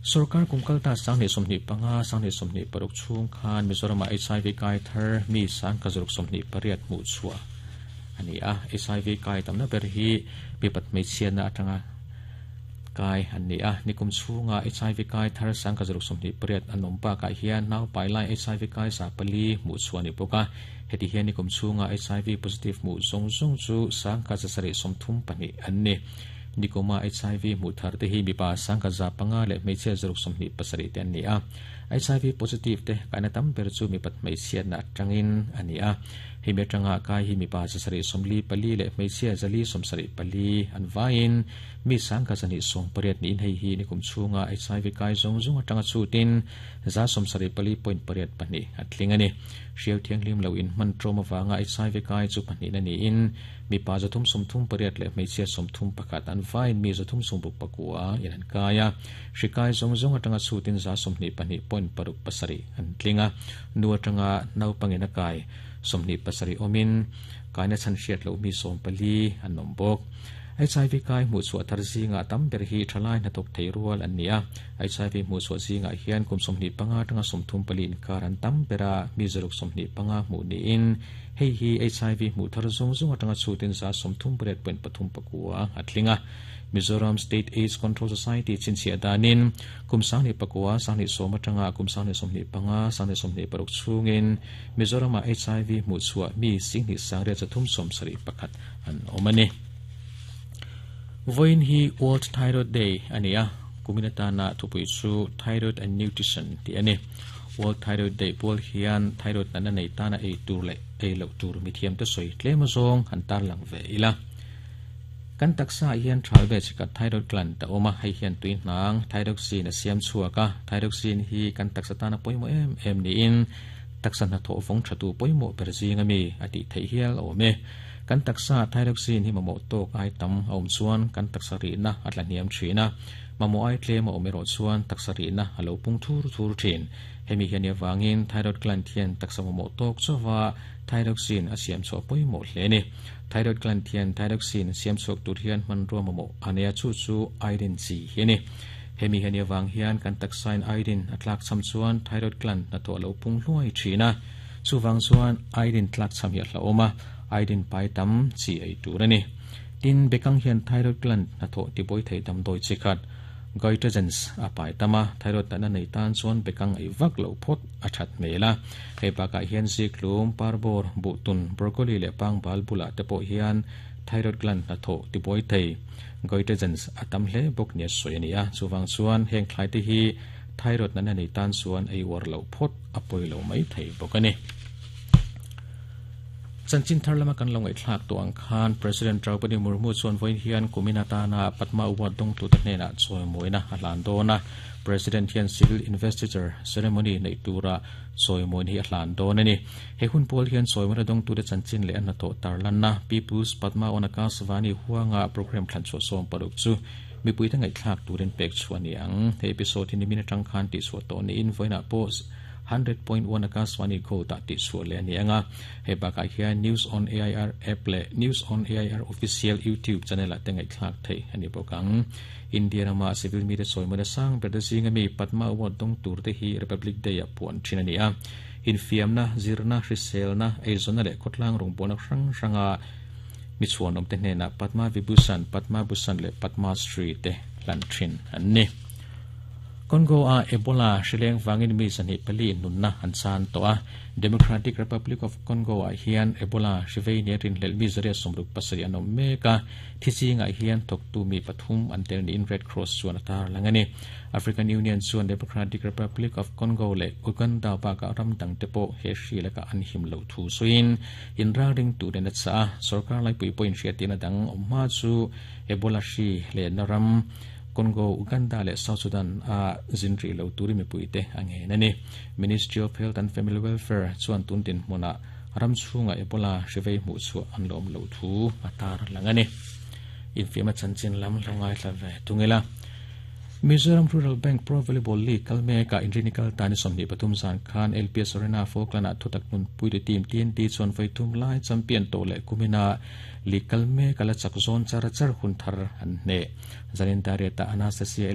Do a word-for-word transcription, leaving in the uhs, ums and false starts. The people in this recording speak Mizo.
Sarkar kumkal ta sang ni somni panga sang ni somni paruk chung khan Mizoram H I V kai thar mi sang ka zuruk somni pariat mu chua ani a H I V kai tamna ber hi pipat mai chian na atanga kai ani a nikum chunga H I V kai thar sang ka zuruk somni pariat anom pa ka hian nau pai lai H I V kai sa pali mu chua ni poka heti hian nikum chunga H I V positive mu zong zong chu sang ka sari somthum pani anni nikoma H I V mu thar te hi mipa sang ka za panga le hmeichhia zaruk sawmhnih pasarih te an ni a H I V positive te kaina tam ber chu mipat hmeichhia na atangin ani a hemi atanga kai hi mipa zasarih sawmli pali le hmeichhia zali sawmsarih pali an vain mi sang ka zani sawm pariat niin hei hi nikum chhunga H I V kai zawng zawng atanga chutin za sawmsarih pali point pariat pahnih a tling ani hriau thianghlim lo in hman tawm awanga H I V kai chu pahnih na niin mipa zathum sawmthum pariat le hmeichhia sawmthum pakhat an vain mi zathum sawmruk pakua in an kai a hri kai zawng zawng atanga chutin za sawmhnih pahnih point paruk pasarih an tlinga nu atanga naupangin a kai sawmhnih pasarih awmin kaina chhan hriat lo mi sawm pali an awm bawk H I V kai hmuh chhuah thar zinga tam ber hi thalai hnathawk thei rual an ni a H I V hmuh chhuah zingah hian kum sawmhnih panga atanga sawmthum pali inkar an tam bera mi zaruk sawmhnih panga hmuh niin hei hi H I V hmuh thar zawng zawng atanga chutin za sawmthum pariat point pathum pakua a tlinga Mizoram State AIDS Control Society chinchhia danin kum sangni pakua sangni sawm atanga kum sangni sawmhnih panga sangni sawmhnih paruk chungin Mizorama H I V hmuh chhuah mi singhnih sangriat zathum sawmsarih pakhat an awm ani Voin hi World Thyroid Day ani a kuminata na thupui chu Thyroid and Nutrition ti ani World Thyroid Day pual hian thyroid na nei tana ei tur le ei lo tur mi thiam te soi tlem zawng han tar lang ve ila kan taksa hian thalve chika thyroid gland ta oma hei hian tui hnang thyroxine a siam chhuaka thyroxine hi kan taksa tana poimo em em ni in taksa na tho vong thatu poimo ber zinga mi ati thei hial ome kan taksa thyroxine hi mamo tok ai tam awm chuan kan taksa ri na atla hniam thina mamo ai tlem a awm chuan taksa ri na alo pung thur thur thin hemi hian awangin thyroid gland hian taksa mamo tok chawa thyroxine a siam chaw poimo hle ni thyroid gland hian thyroxine siam chhuak tur hian hmanrua mamo ania chu chu iodine chi hi ni hemi hian awang hian kan taksa in iodine a tlak cham chuan thyroid gland na to alo pung hluai thina chuwang chuan iodine tlak cham hi a hlaoma iodine pai tam chi ei tur ani tin bekang hian thyroid gland na tho ti boi thei dam doi chi khat goitrogens a pai tama thyroid na nei tan chuan bekang ei vak lo phot a that mela hei baka hian ziklum parbor butun broccoli le pang bal bula te pawh hian thyroid gland na tho ti boi thei goitrogens a tam hle bawk nia soi ani a chuwang chuan heng thlai te hi thyroid na nei tan chuan ei war lo phot a poi lo mai thei bawk ani Chanchin thar lama kan longai thlak to ang khan President Draupadi Murmu chuan voin hian kuminata na Padma Award dong tu ta hnena chawi moina a hlan dawna President hian civil investiture ceremony nei tura chawi moin hi a hlan dawn ani he hun pawl hian chawi moina dong tu te chanchin le an to tarlanna People's Padma on Akashvani huanga program thlan chu som paruk chu mipui ta ngai thlak turin pek chuani ang he episode hi ni min atang khan ti chu to ni in voina post one hundred point one Akashvani ko ta ti chu le ani anga he baka hian News on A I R app le News on A I R official YouTube channel a tengai thlak thei ani bokang India rama civil media soimona sang ber zinga mi Padma Award dong tur te hi Republic Day a puan thin ani a infiamna zirna hriselna eizona le khotlang rong bona hrang hranga mi chuan om te hnena Padma Vibhushan Padma Bhushan le Padma Shri te hlan thin an ni Congo a Ebola hrileng wangin mi zani pali nunna an chan to a Democratic Republic of Congo a hian Ebola hrivei ne rin hlel mi zaria somruk pasari an awm mek a thichinga hian thawktu mi pathum an tel niin Red Cross chuan a tar langani African Union chuan Democratic Republic of Congo le Uganda baka ram dang te pawh he hri laka an him lo thu suin in ring turin a cha sarkar lai pui point hriatina dang awm hma chu Ebola hri le na ram Congo, Uganda le South Sudan a zinri lo turi mi puite ange nani Ministry of Health and Family Welfare chuan tuntin hmuna ram chhunga Ebola hrivei hmuh chu an lawm lo thu atar langani infiama chanchin lam longai thlave tungela Mizoram Rural Bank Pro Volleyball League kalme ka inrinikal tani somni pathum zan khan L P S Arena Falkland a thutak nun puite team T N T chuan voithum lai champion to le kumina league kalme kala chak zone char char hun thar an hne zanin dariata Anastasia